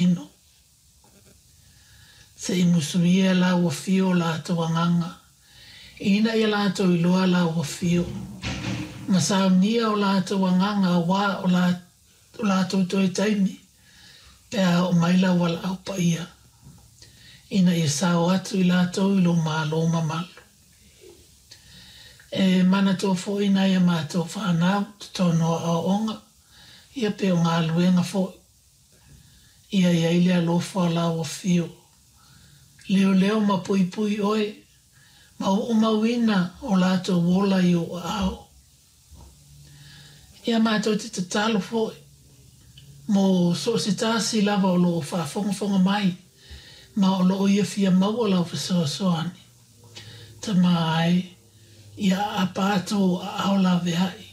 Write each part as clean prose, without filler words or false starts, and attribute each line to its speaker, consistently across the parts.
Speaker 1: Tino. Se i musuia Lau Afio o latou agaga, ina ia latou iloa Lau Afio, ma saunia o latou agaga auā o o latou toe taimi pe a oo mai Lau valaau paia, ina ia sao atu i latou i Lou Malo mamalu. E manatua foi nai a matou fanau totonu o aoaoga, ia pe o galuega foi. Ia i ai le alofa o Lau Afio. Leoleo ma puipui Oe, ma oomauina o latou ola i Ou aao. Ia matou te tatalo foi mo so o se tasi lava o lo o faafogafoga mai ma o lo o ia fia maua Lau fesoasoani. Tama ae, ia aapa atu Ou aao laveai,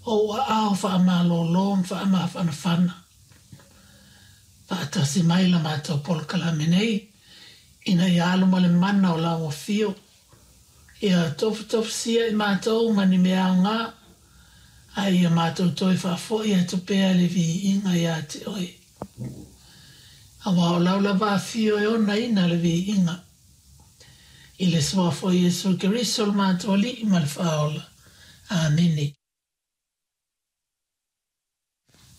Speaker 1: Ou aao faamalōlō ma faamafanafana. Faatasi mai la matou polokalame nei, ina ia alu ma le mana o Lau Afio. Ia tofutofusia i matou ma ni mea aoga, a ia matou toe faafoi atu pea le viiga iā te Oe. Aua o Lau lava Afio e onaina le viiga. I le Suafa o Iesu Keriso lo matou Alii ma le Faaola. Amene.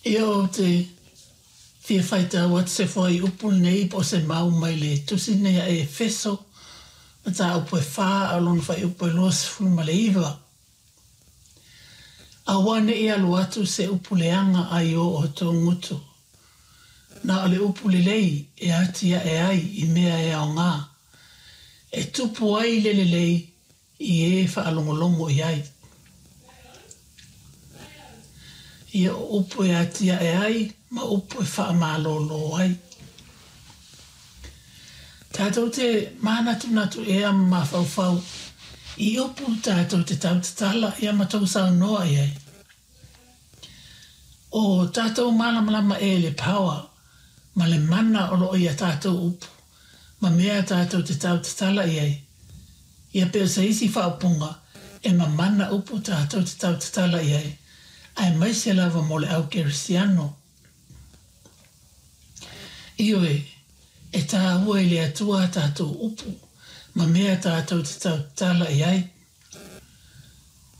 Speaker 1: Ia ou te fia faitau atu se fuaiupu lenei po o se mau mai le tusi lenei a Efeso, mataupu e fa a o lona fuaiupu e 29. Aua ne i alu atu se upu leaga ai o outou gutu. Na o le upu lelei e atiae ai i mea e aoga, e tupu ai le lelei i e faalogologo i ai. Ia o upu e atiae ai ma upu e faamalōlō ai. Tātou te mānatunatu ea ma mafaufau i upu tātou te tautatala ia ma tou saunoa i ai. O tātou mālamalama e le power ma le mana o lo o ia tātou upu ma mea tātou te tautatala i ai. Ia pei o se isi faaupuga e mamana upu tātou te tautatala i ai, aemaise lava mo le au kerisiano. Ioe, e tāua i le Atua a tātou upu ma mea tātou te tautatala i ai.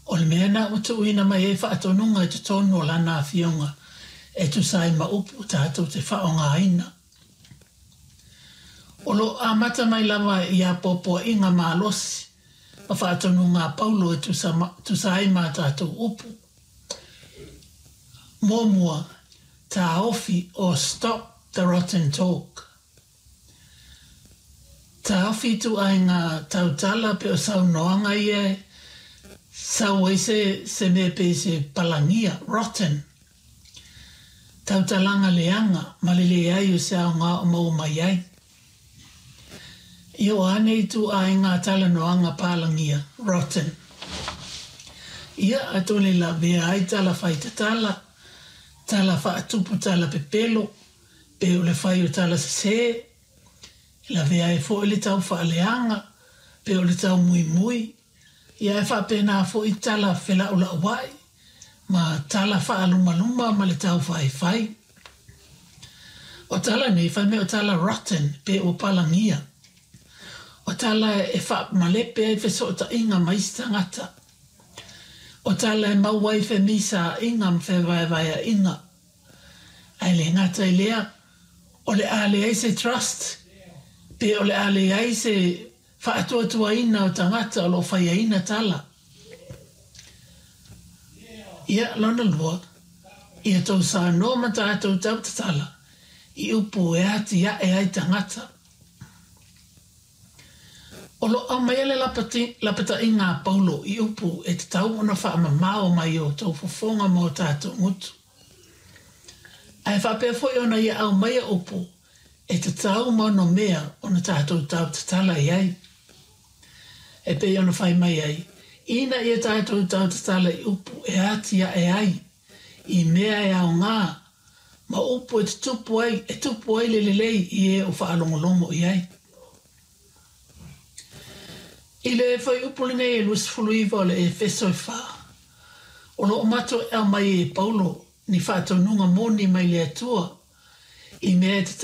Speaker 1: O le mea na ua tuuina mai ai faatonuga i totonu o Lana Afioga e tusa ai ma upu tātou te faaaogaina. O lo o amata mai lava i apoapoaiga malosi ma faatonuga a Paulo e tusa, tusa ai ma a tātou upu. Muamua, taofi or stop the rotten talk. Taofi ituaiga tautala pe o saunoaga ia e sau ai se, se mea pei se palagia, rotten. Tautalaga leaga ma le leai o se aoga o maua mai ai. Ia o a nei ituaiga talanoaga palagia, rotten. Ia atonu e lavea ai tala fai tatala, tala faatupu tala pepelo, pe o le fai o tala sesē, e lavea ai foi le tau faaleaga, pe o le tau muimui, ia e faapena foi tala felaulaua'i ma tala faalumaluma ma le tau faifai. O tala nei, fai mea o tala rotten, pe ua palagia. O tala e faamalepe ai fesootaiga ma isi tagata. O tala e maua ai femisaa'iga ma fevaevaea'iga. Ae le gata i lea, o le a leai se trust, pe o le a leai se faatuatuaina o tagata o lo o faiaina tala. Ia, lona lua, ia tou saunoa ma tatou tautatala i upu e atiae ai tagata. O lo o aumaia le lapataiga a Paulo i upu e tatau ona faamamao mai o tou fofoga ma o tatou gutu. Ae faapea foi ona ia aumaia upu e tatau ma onomea ona tatou tautatala i ai. E pei ona fai mai ai, ina ia tatou tautatala i upu e atiae ai i mea e aoga ma upu e tutupu ai, e tupu ai le lelei i e o faalogologo i ai. I le fuaiupu lenei e 29 o le Efeso e fa, o lo o matou e aumai e Paulo ni faatonuga moni mai le Atua. I mea e.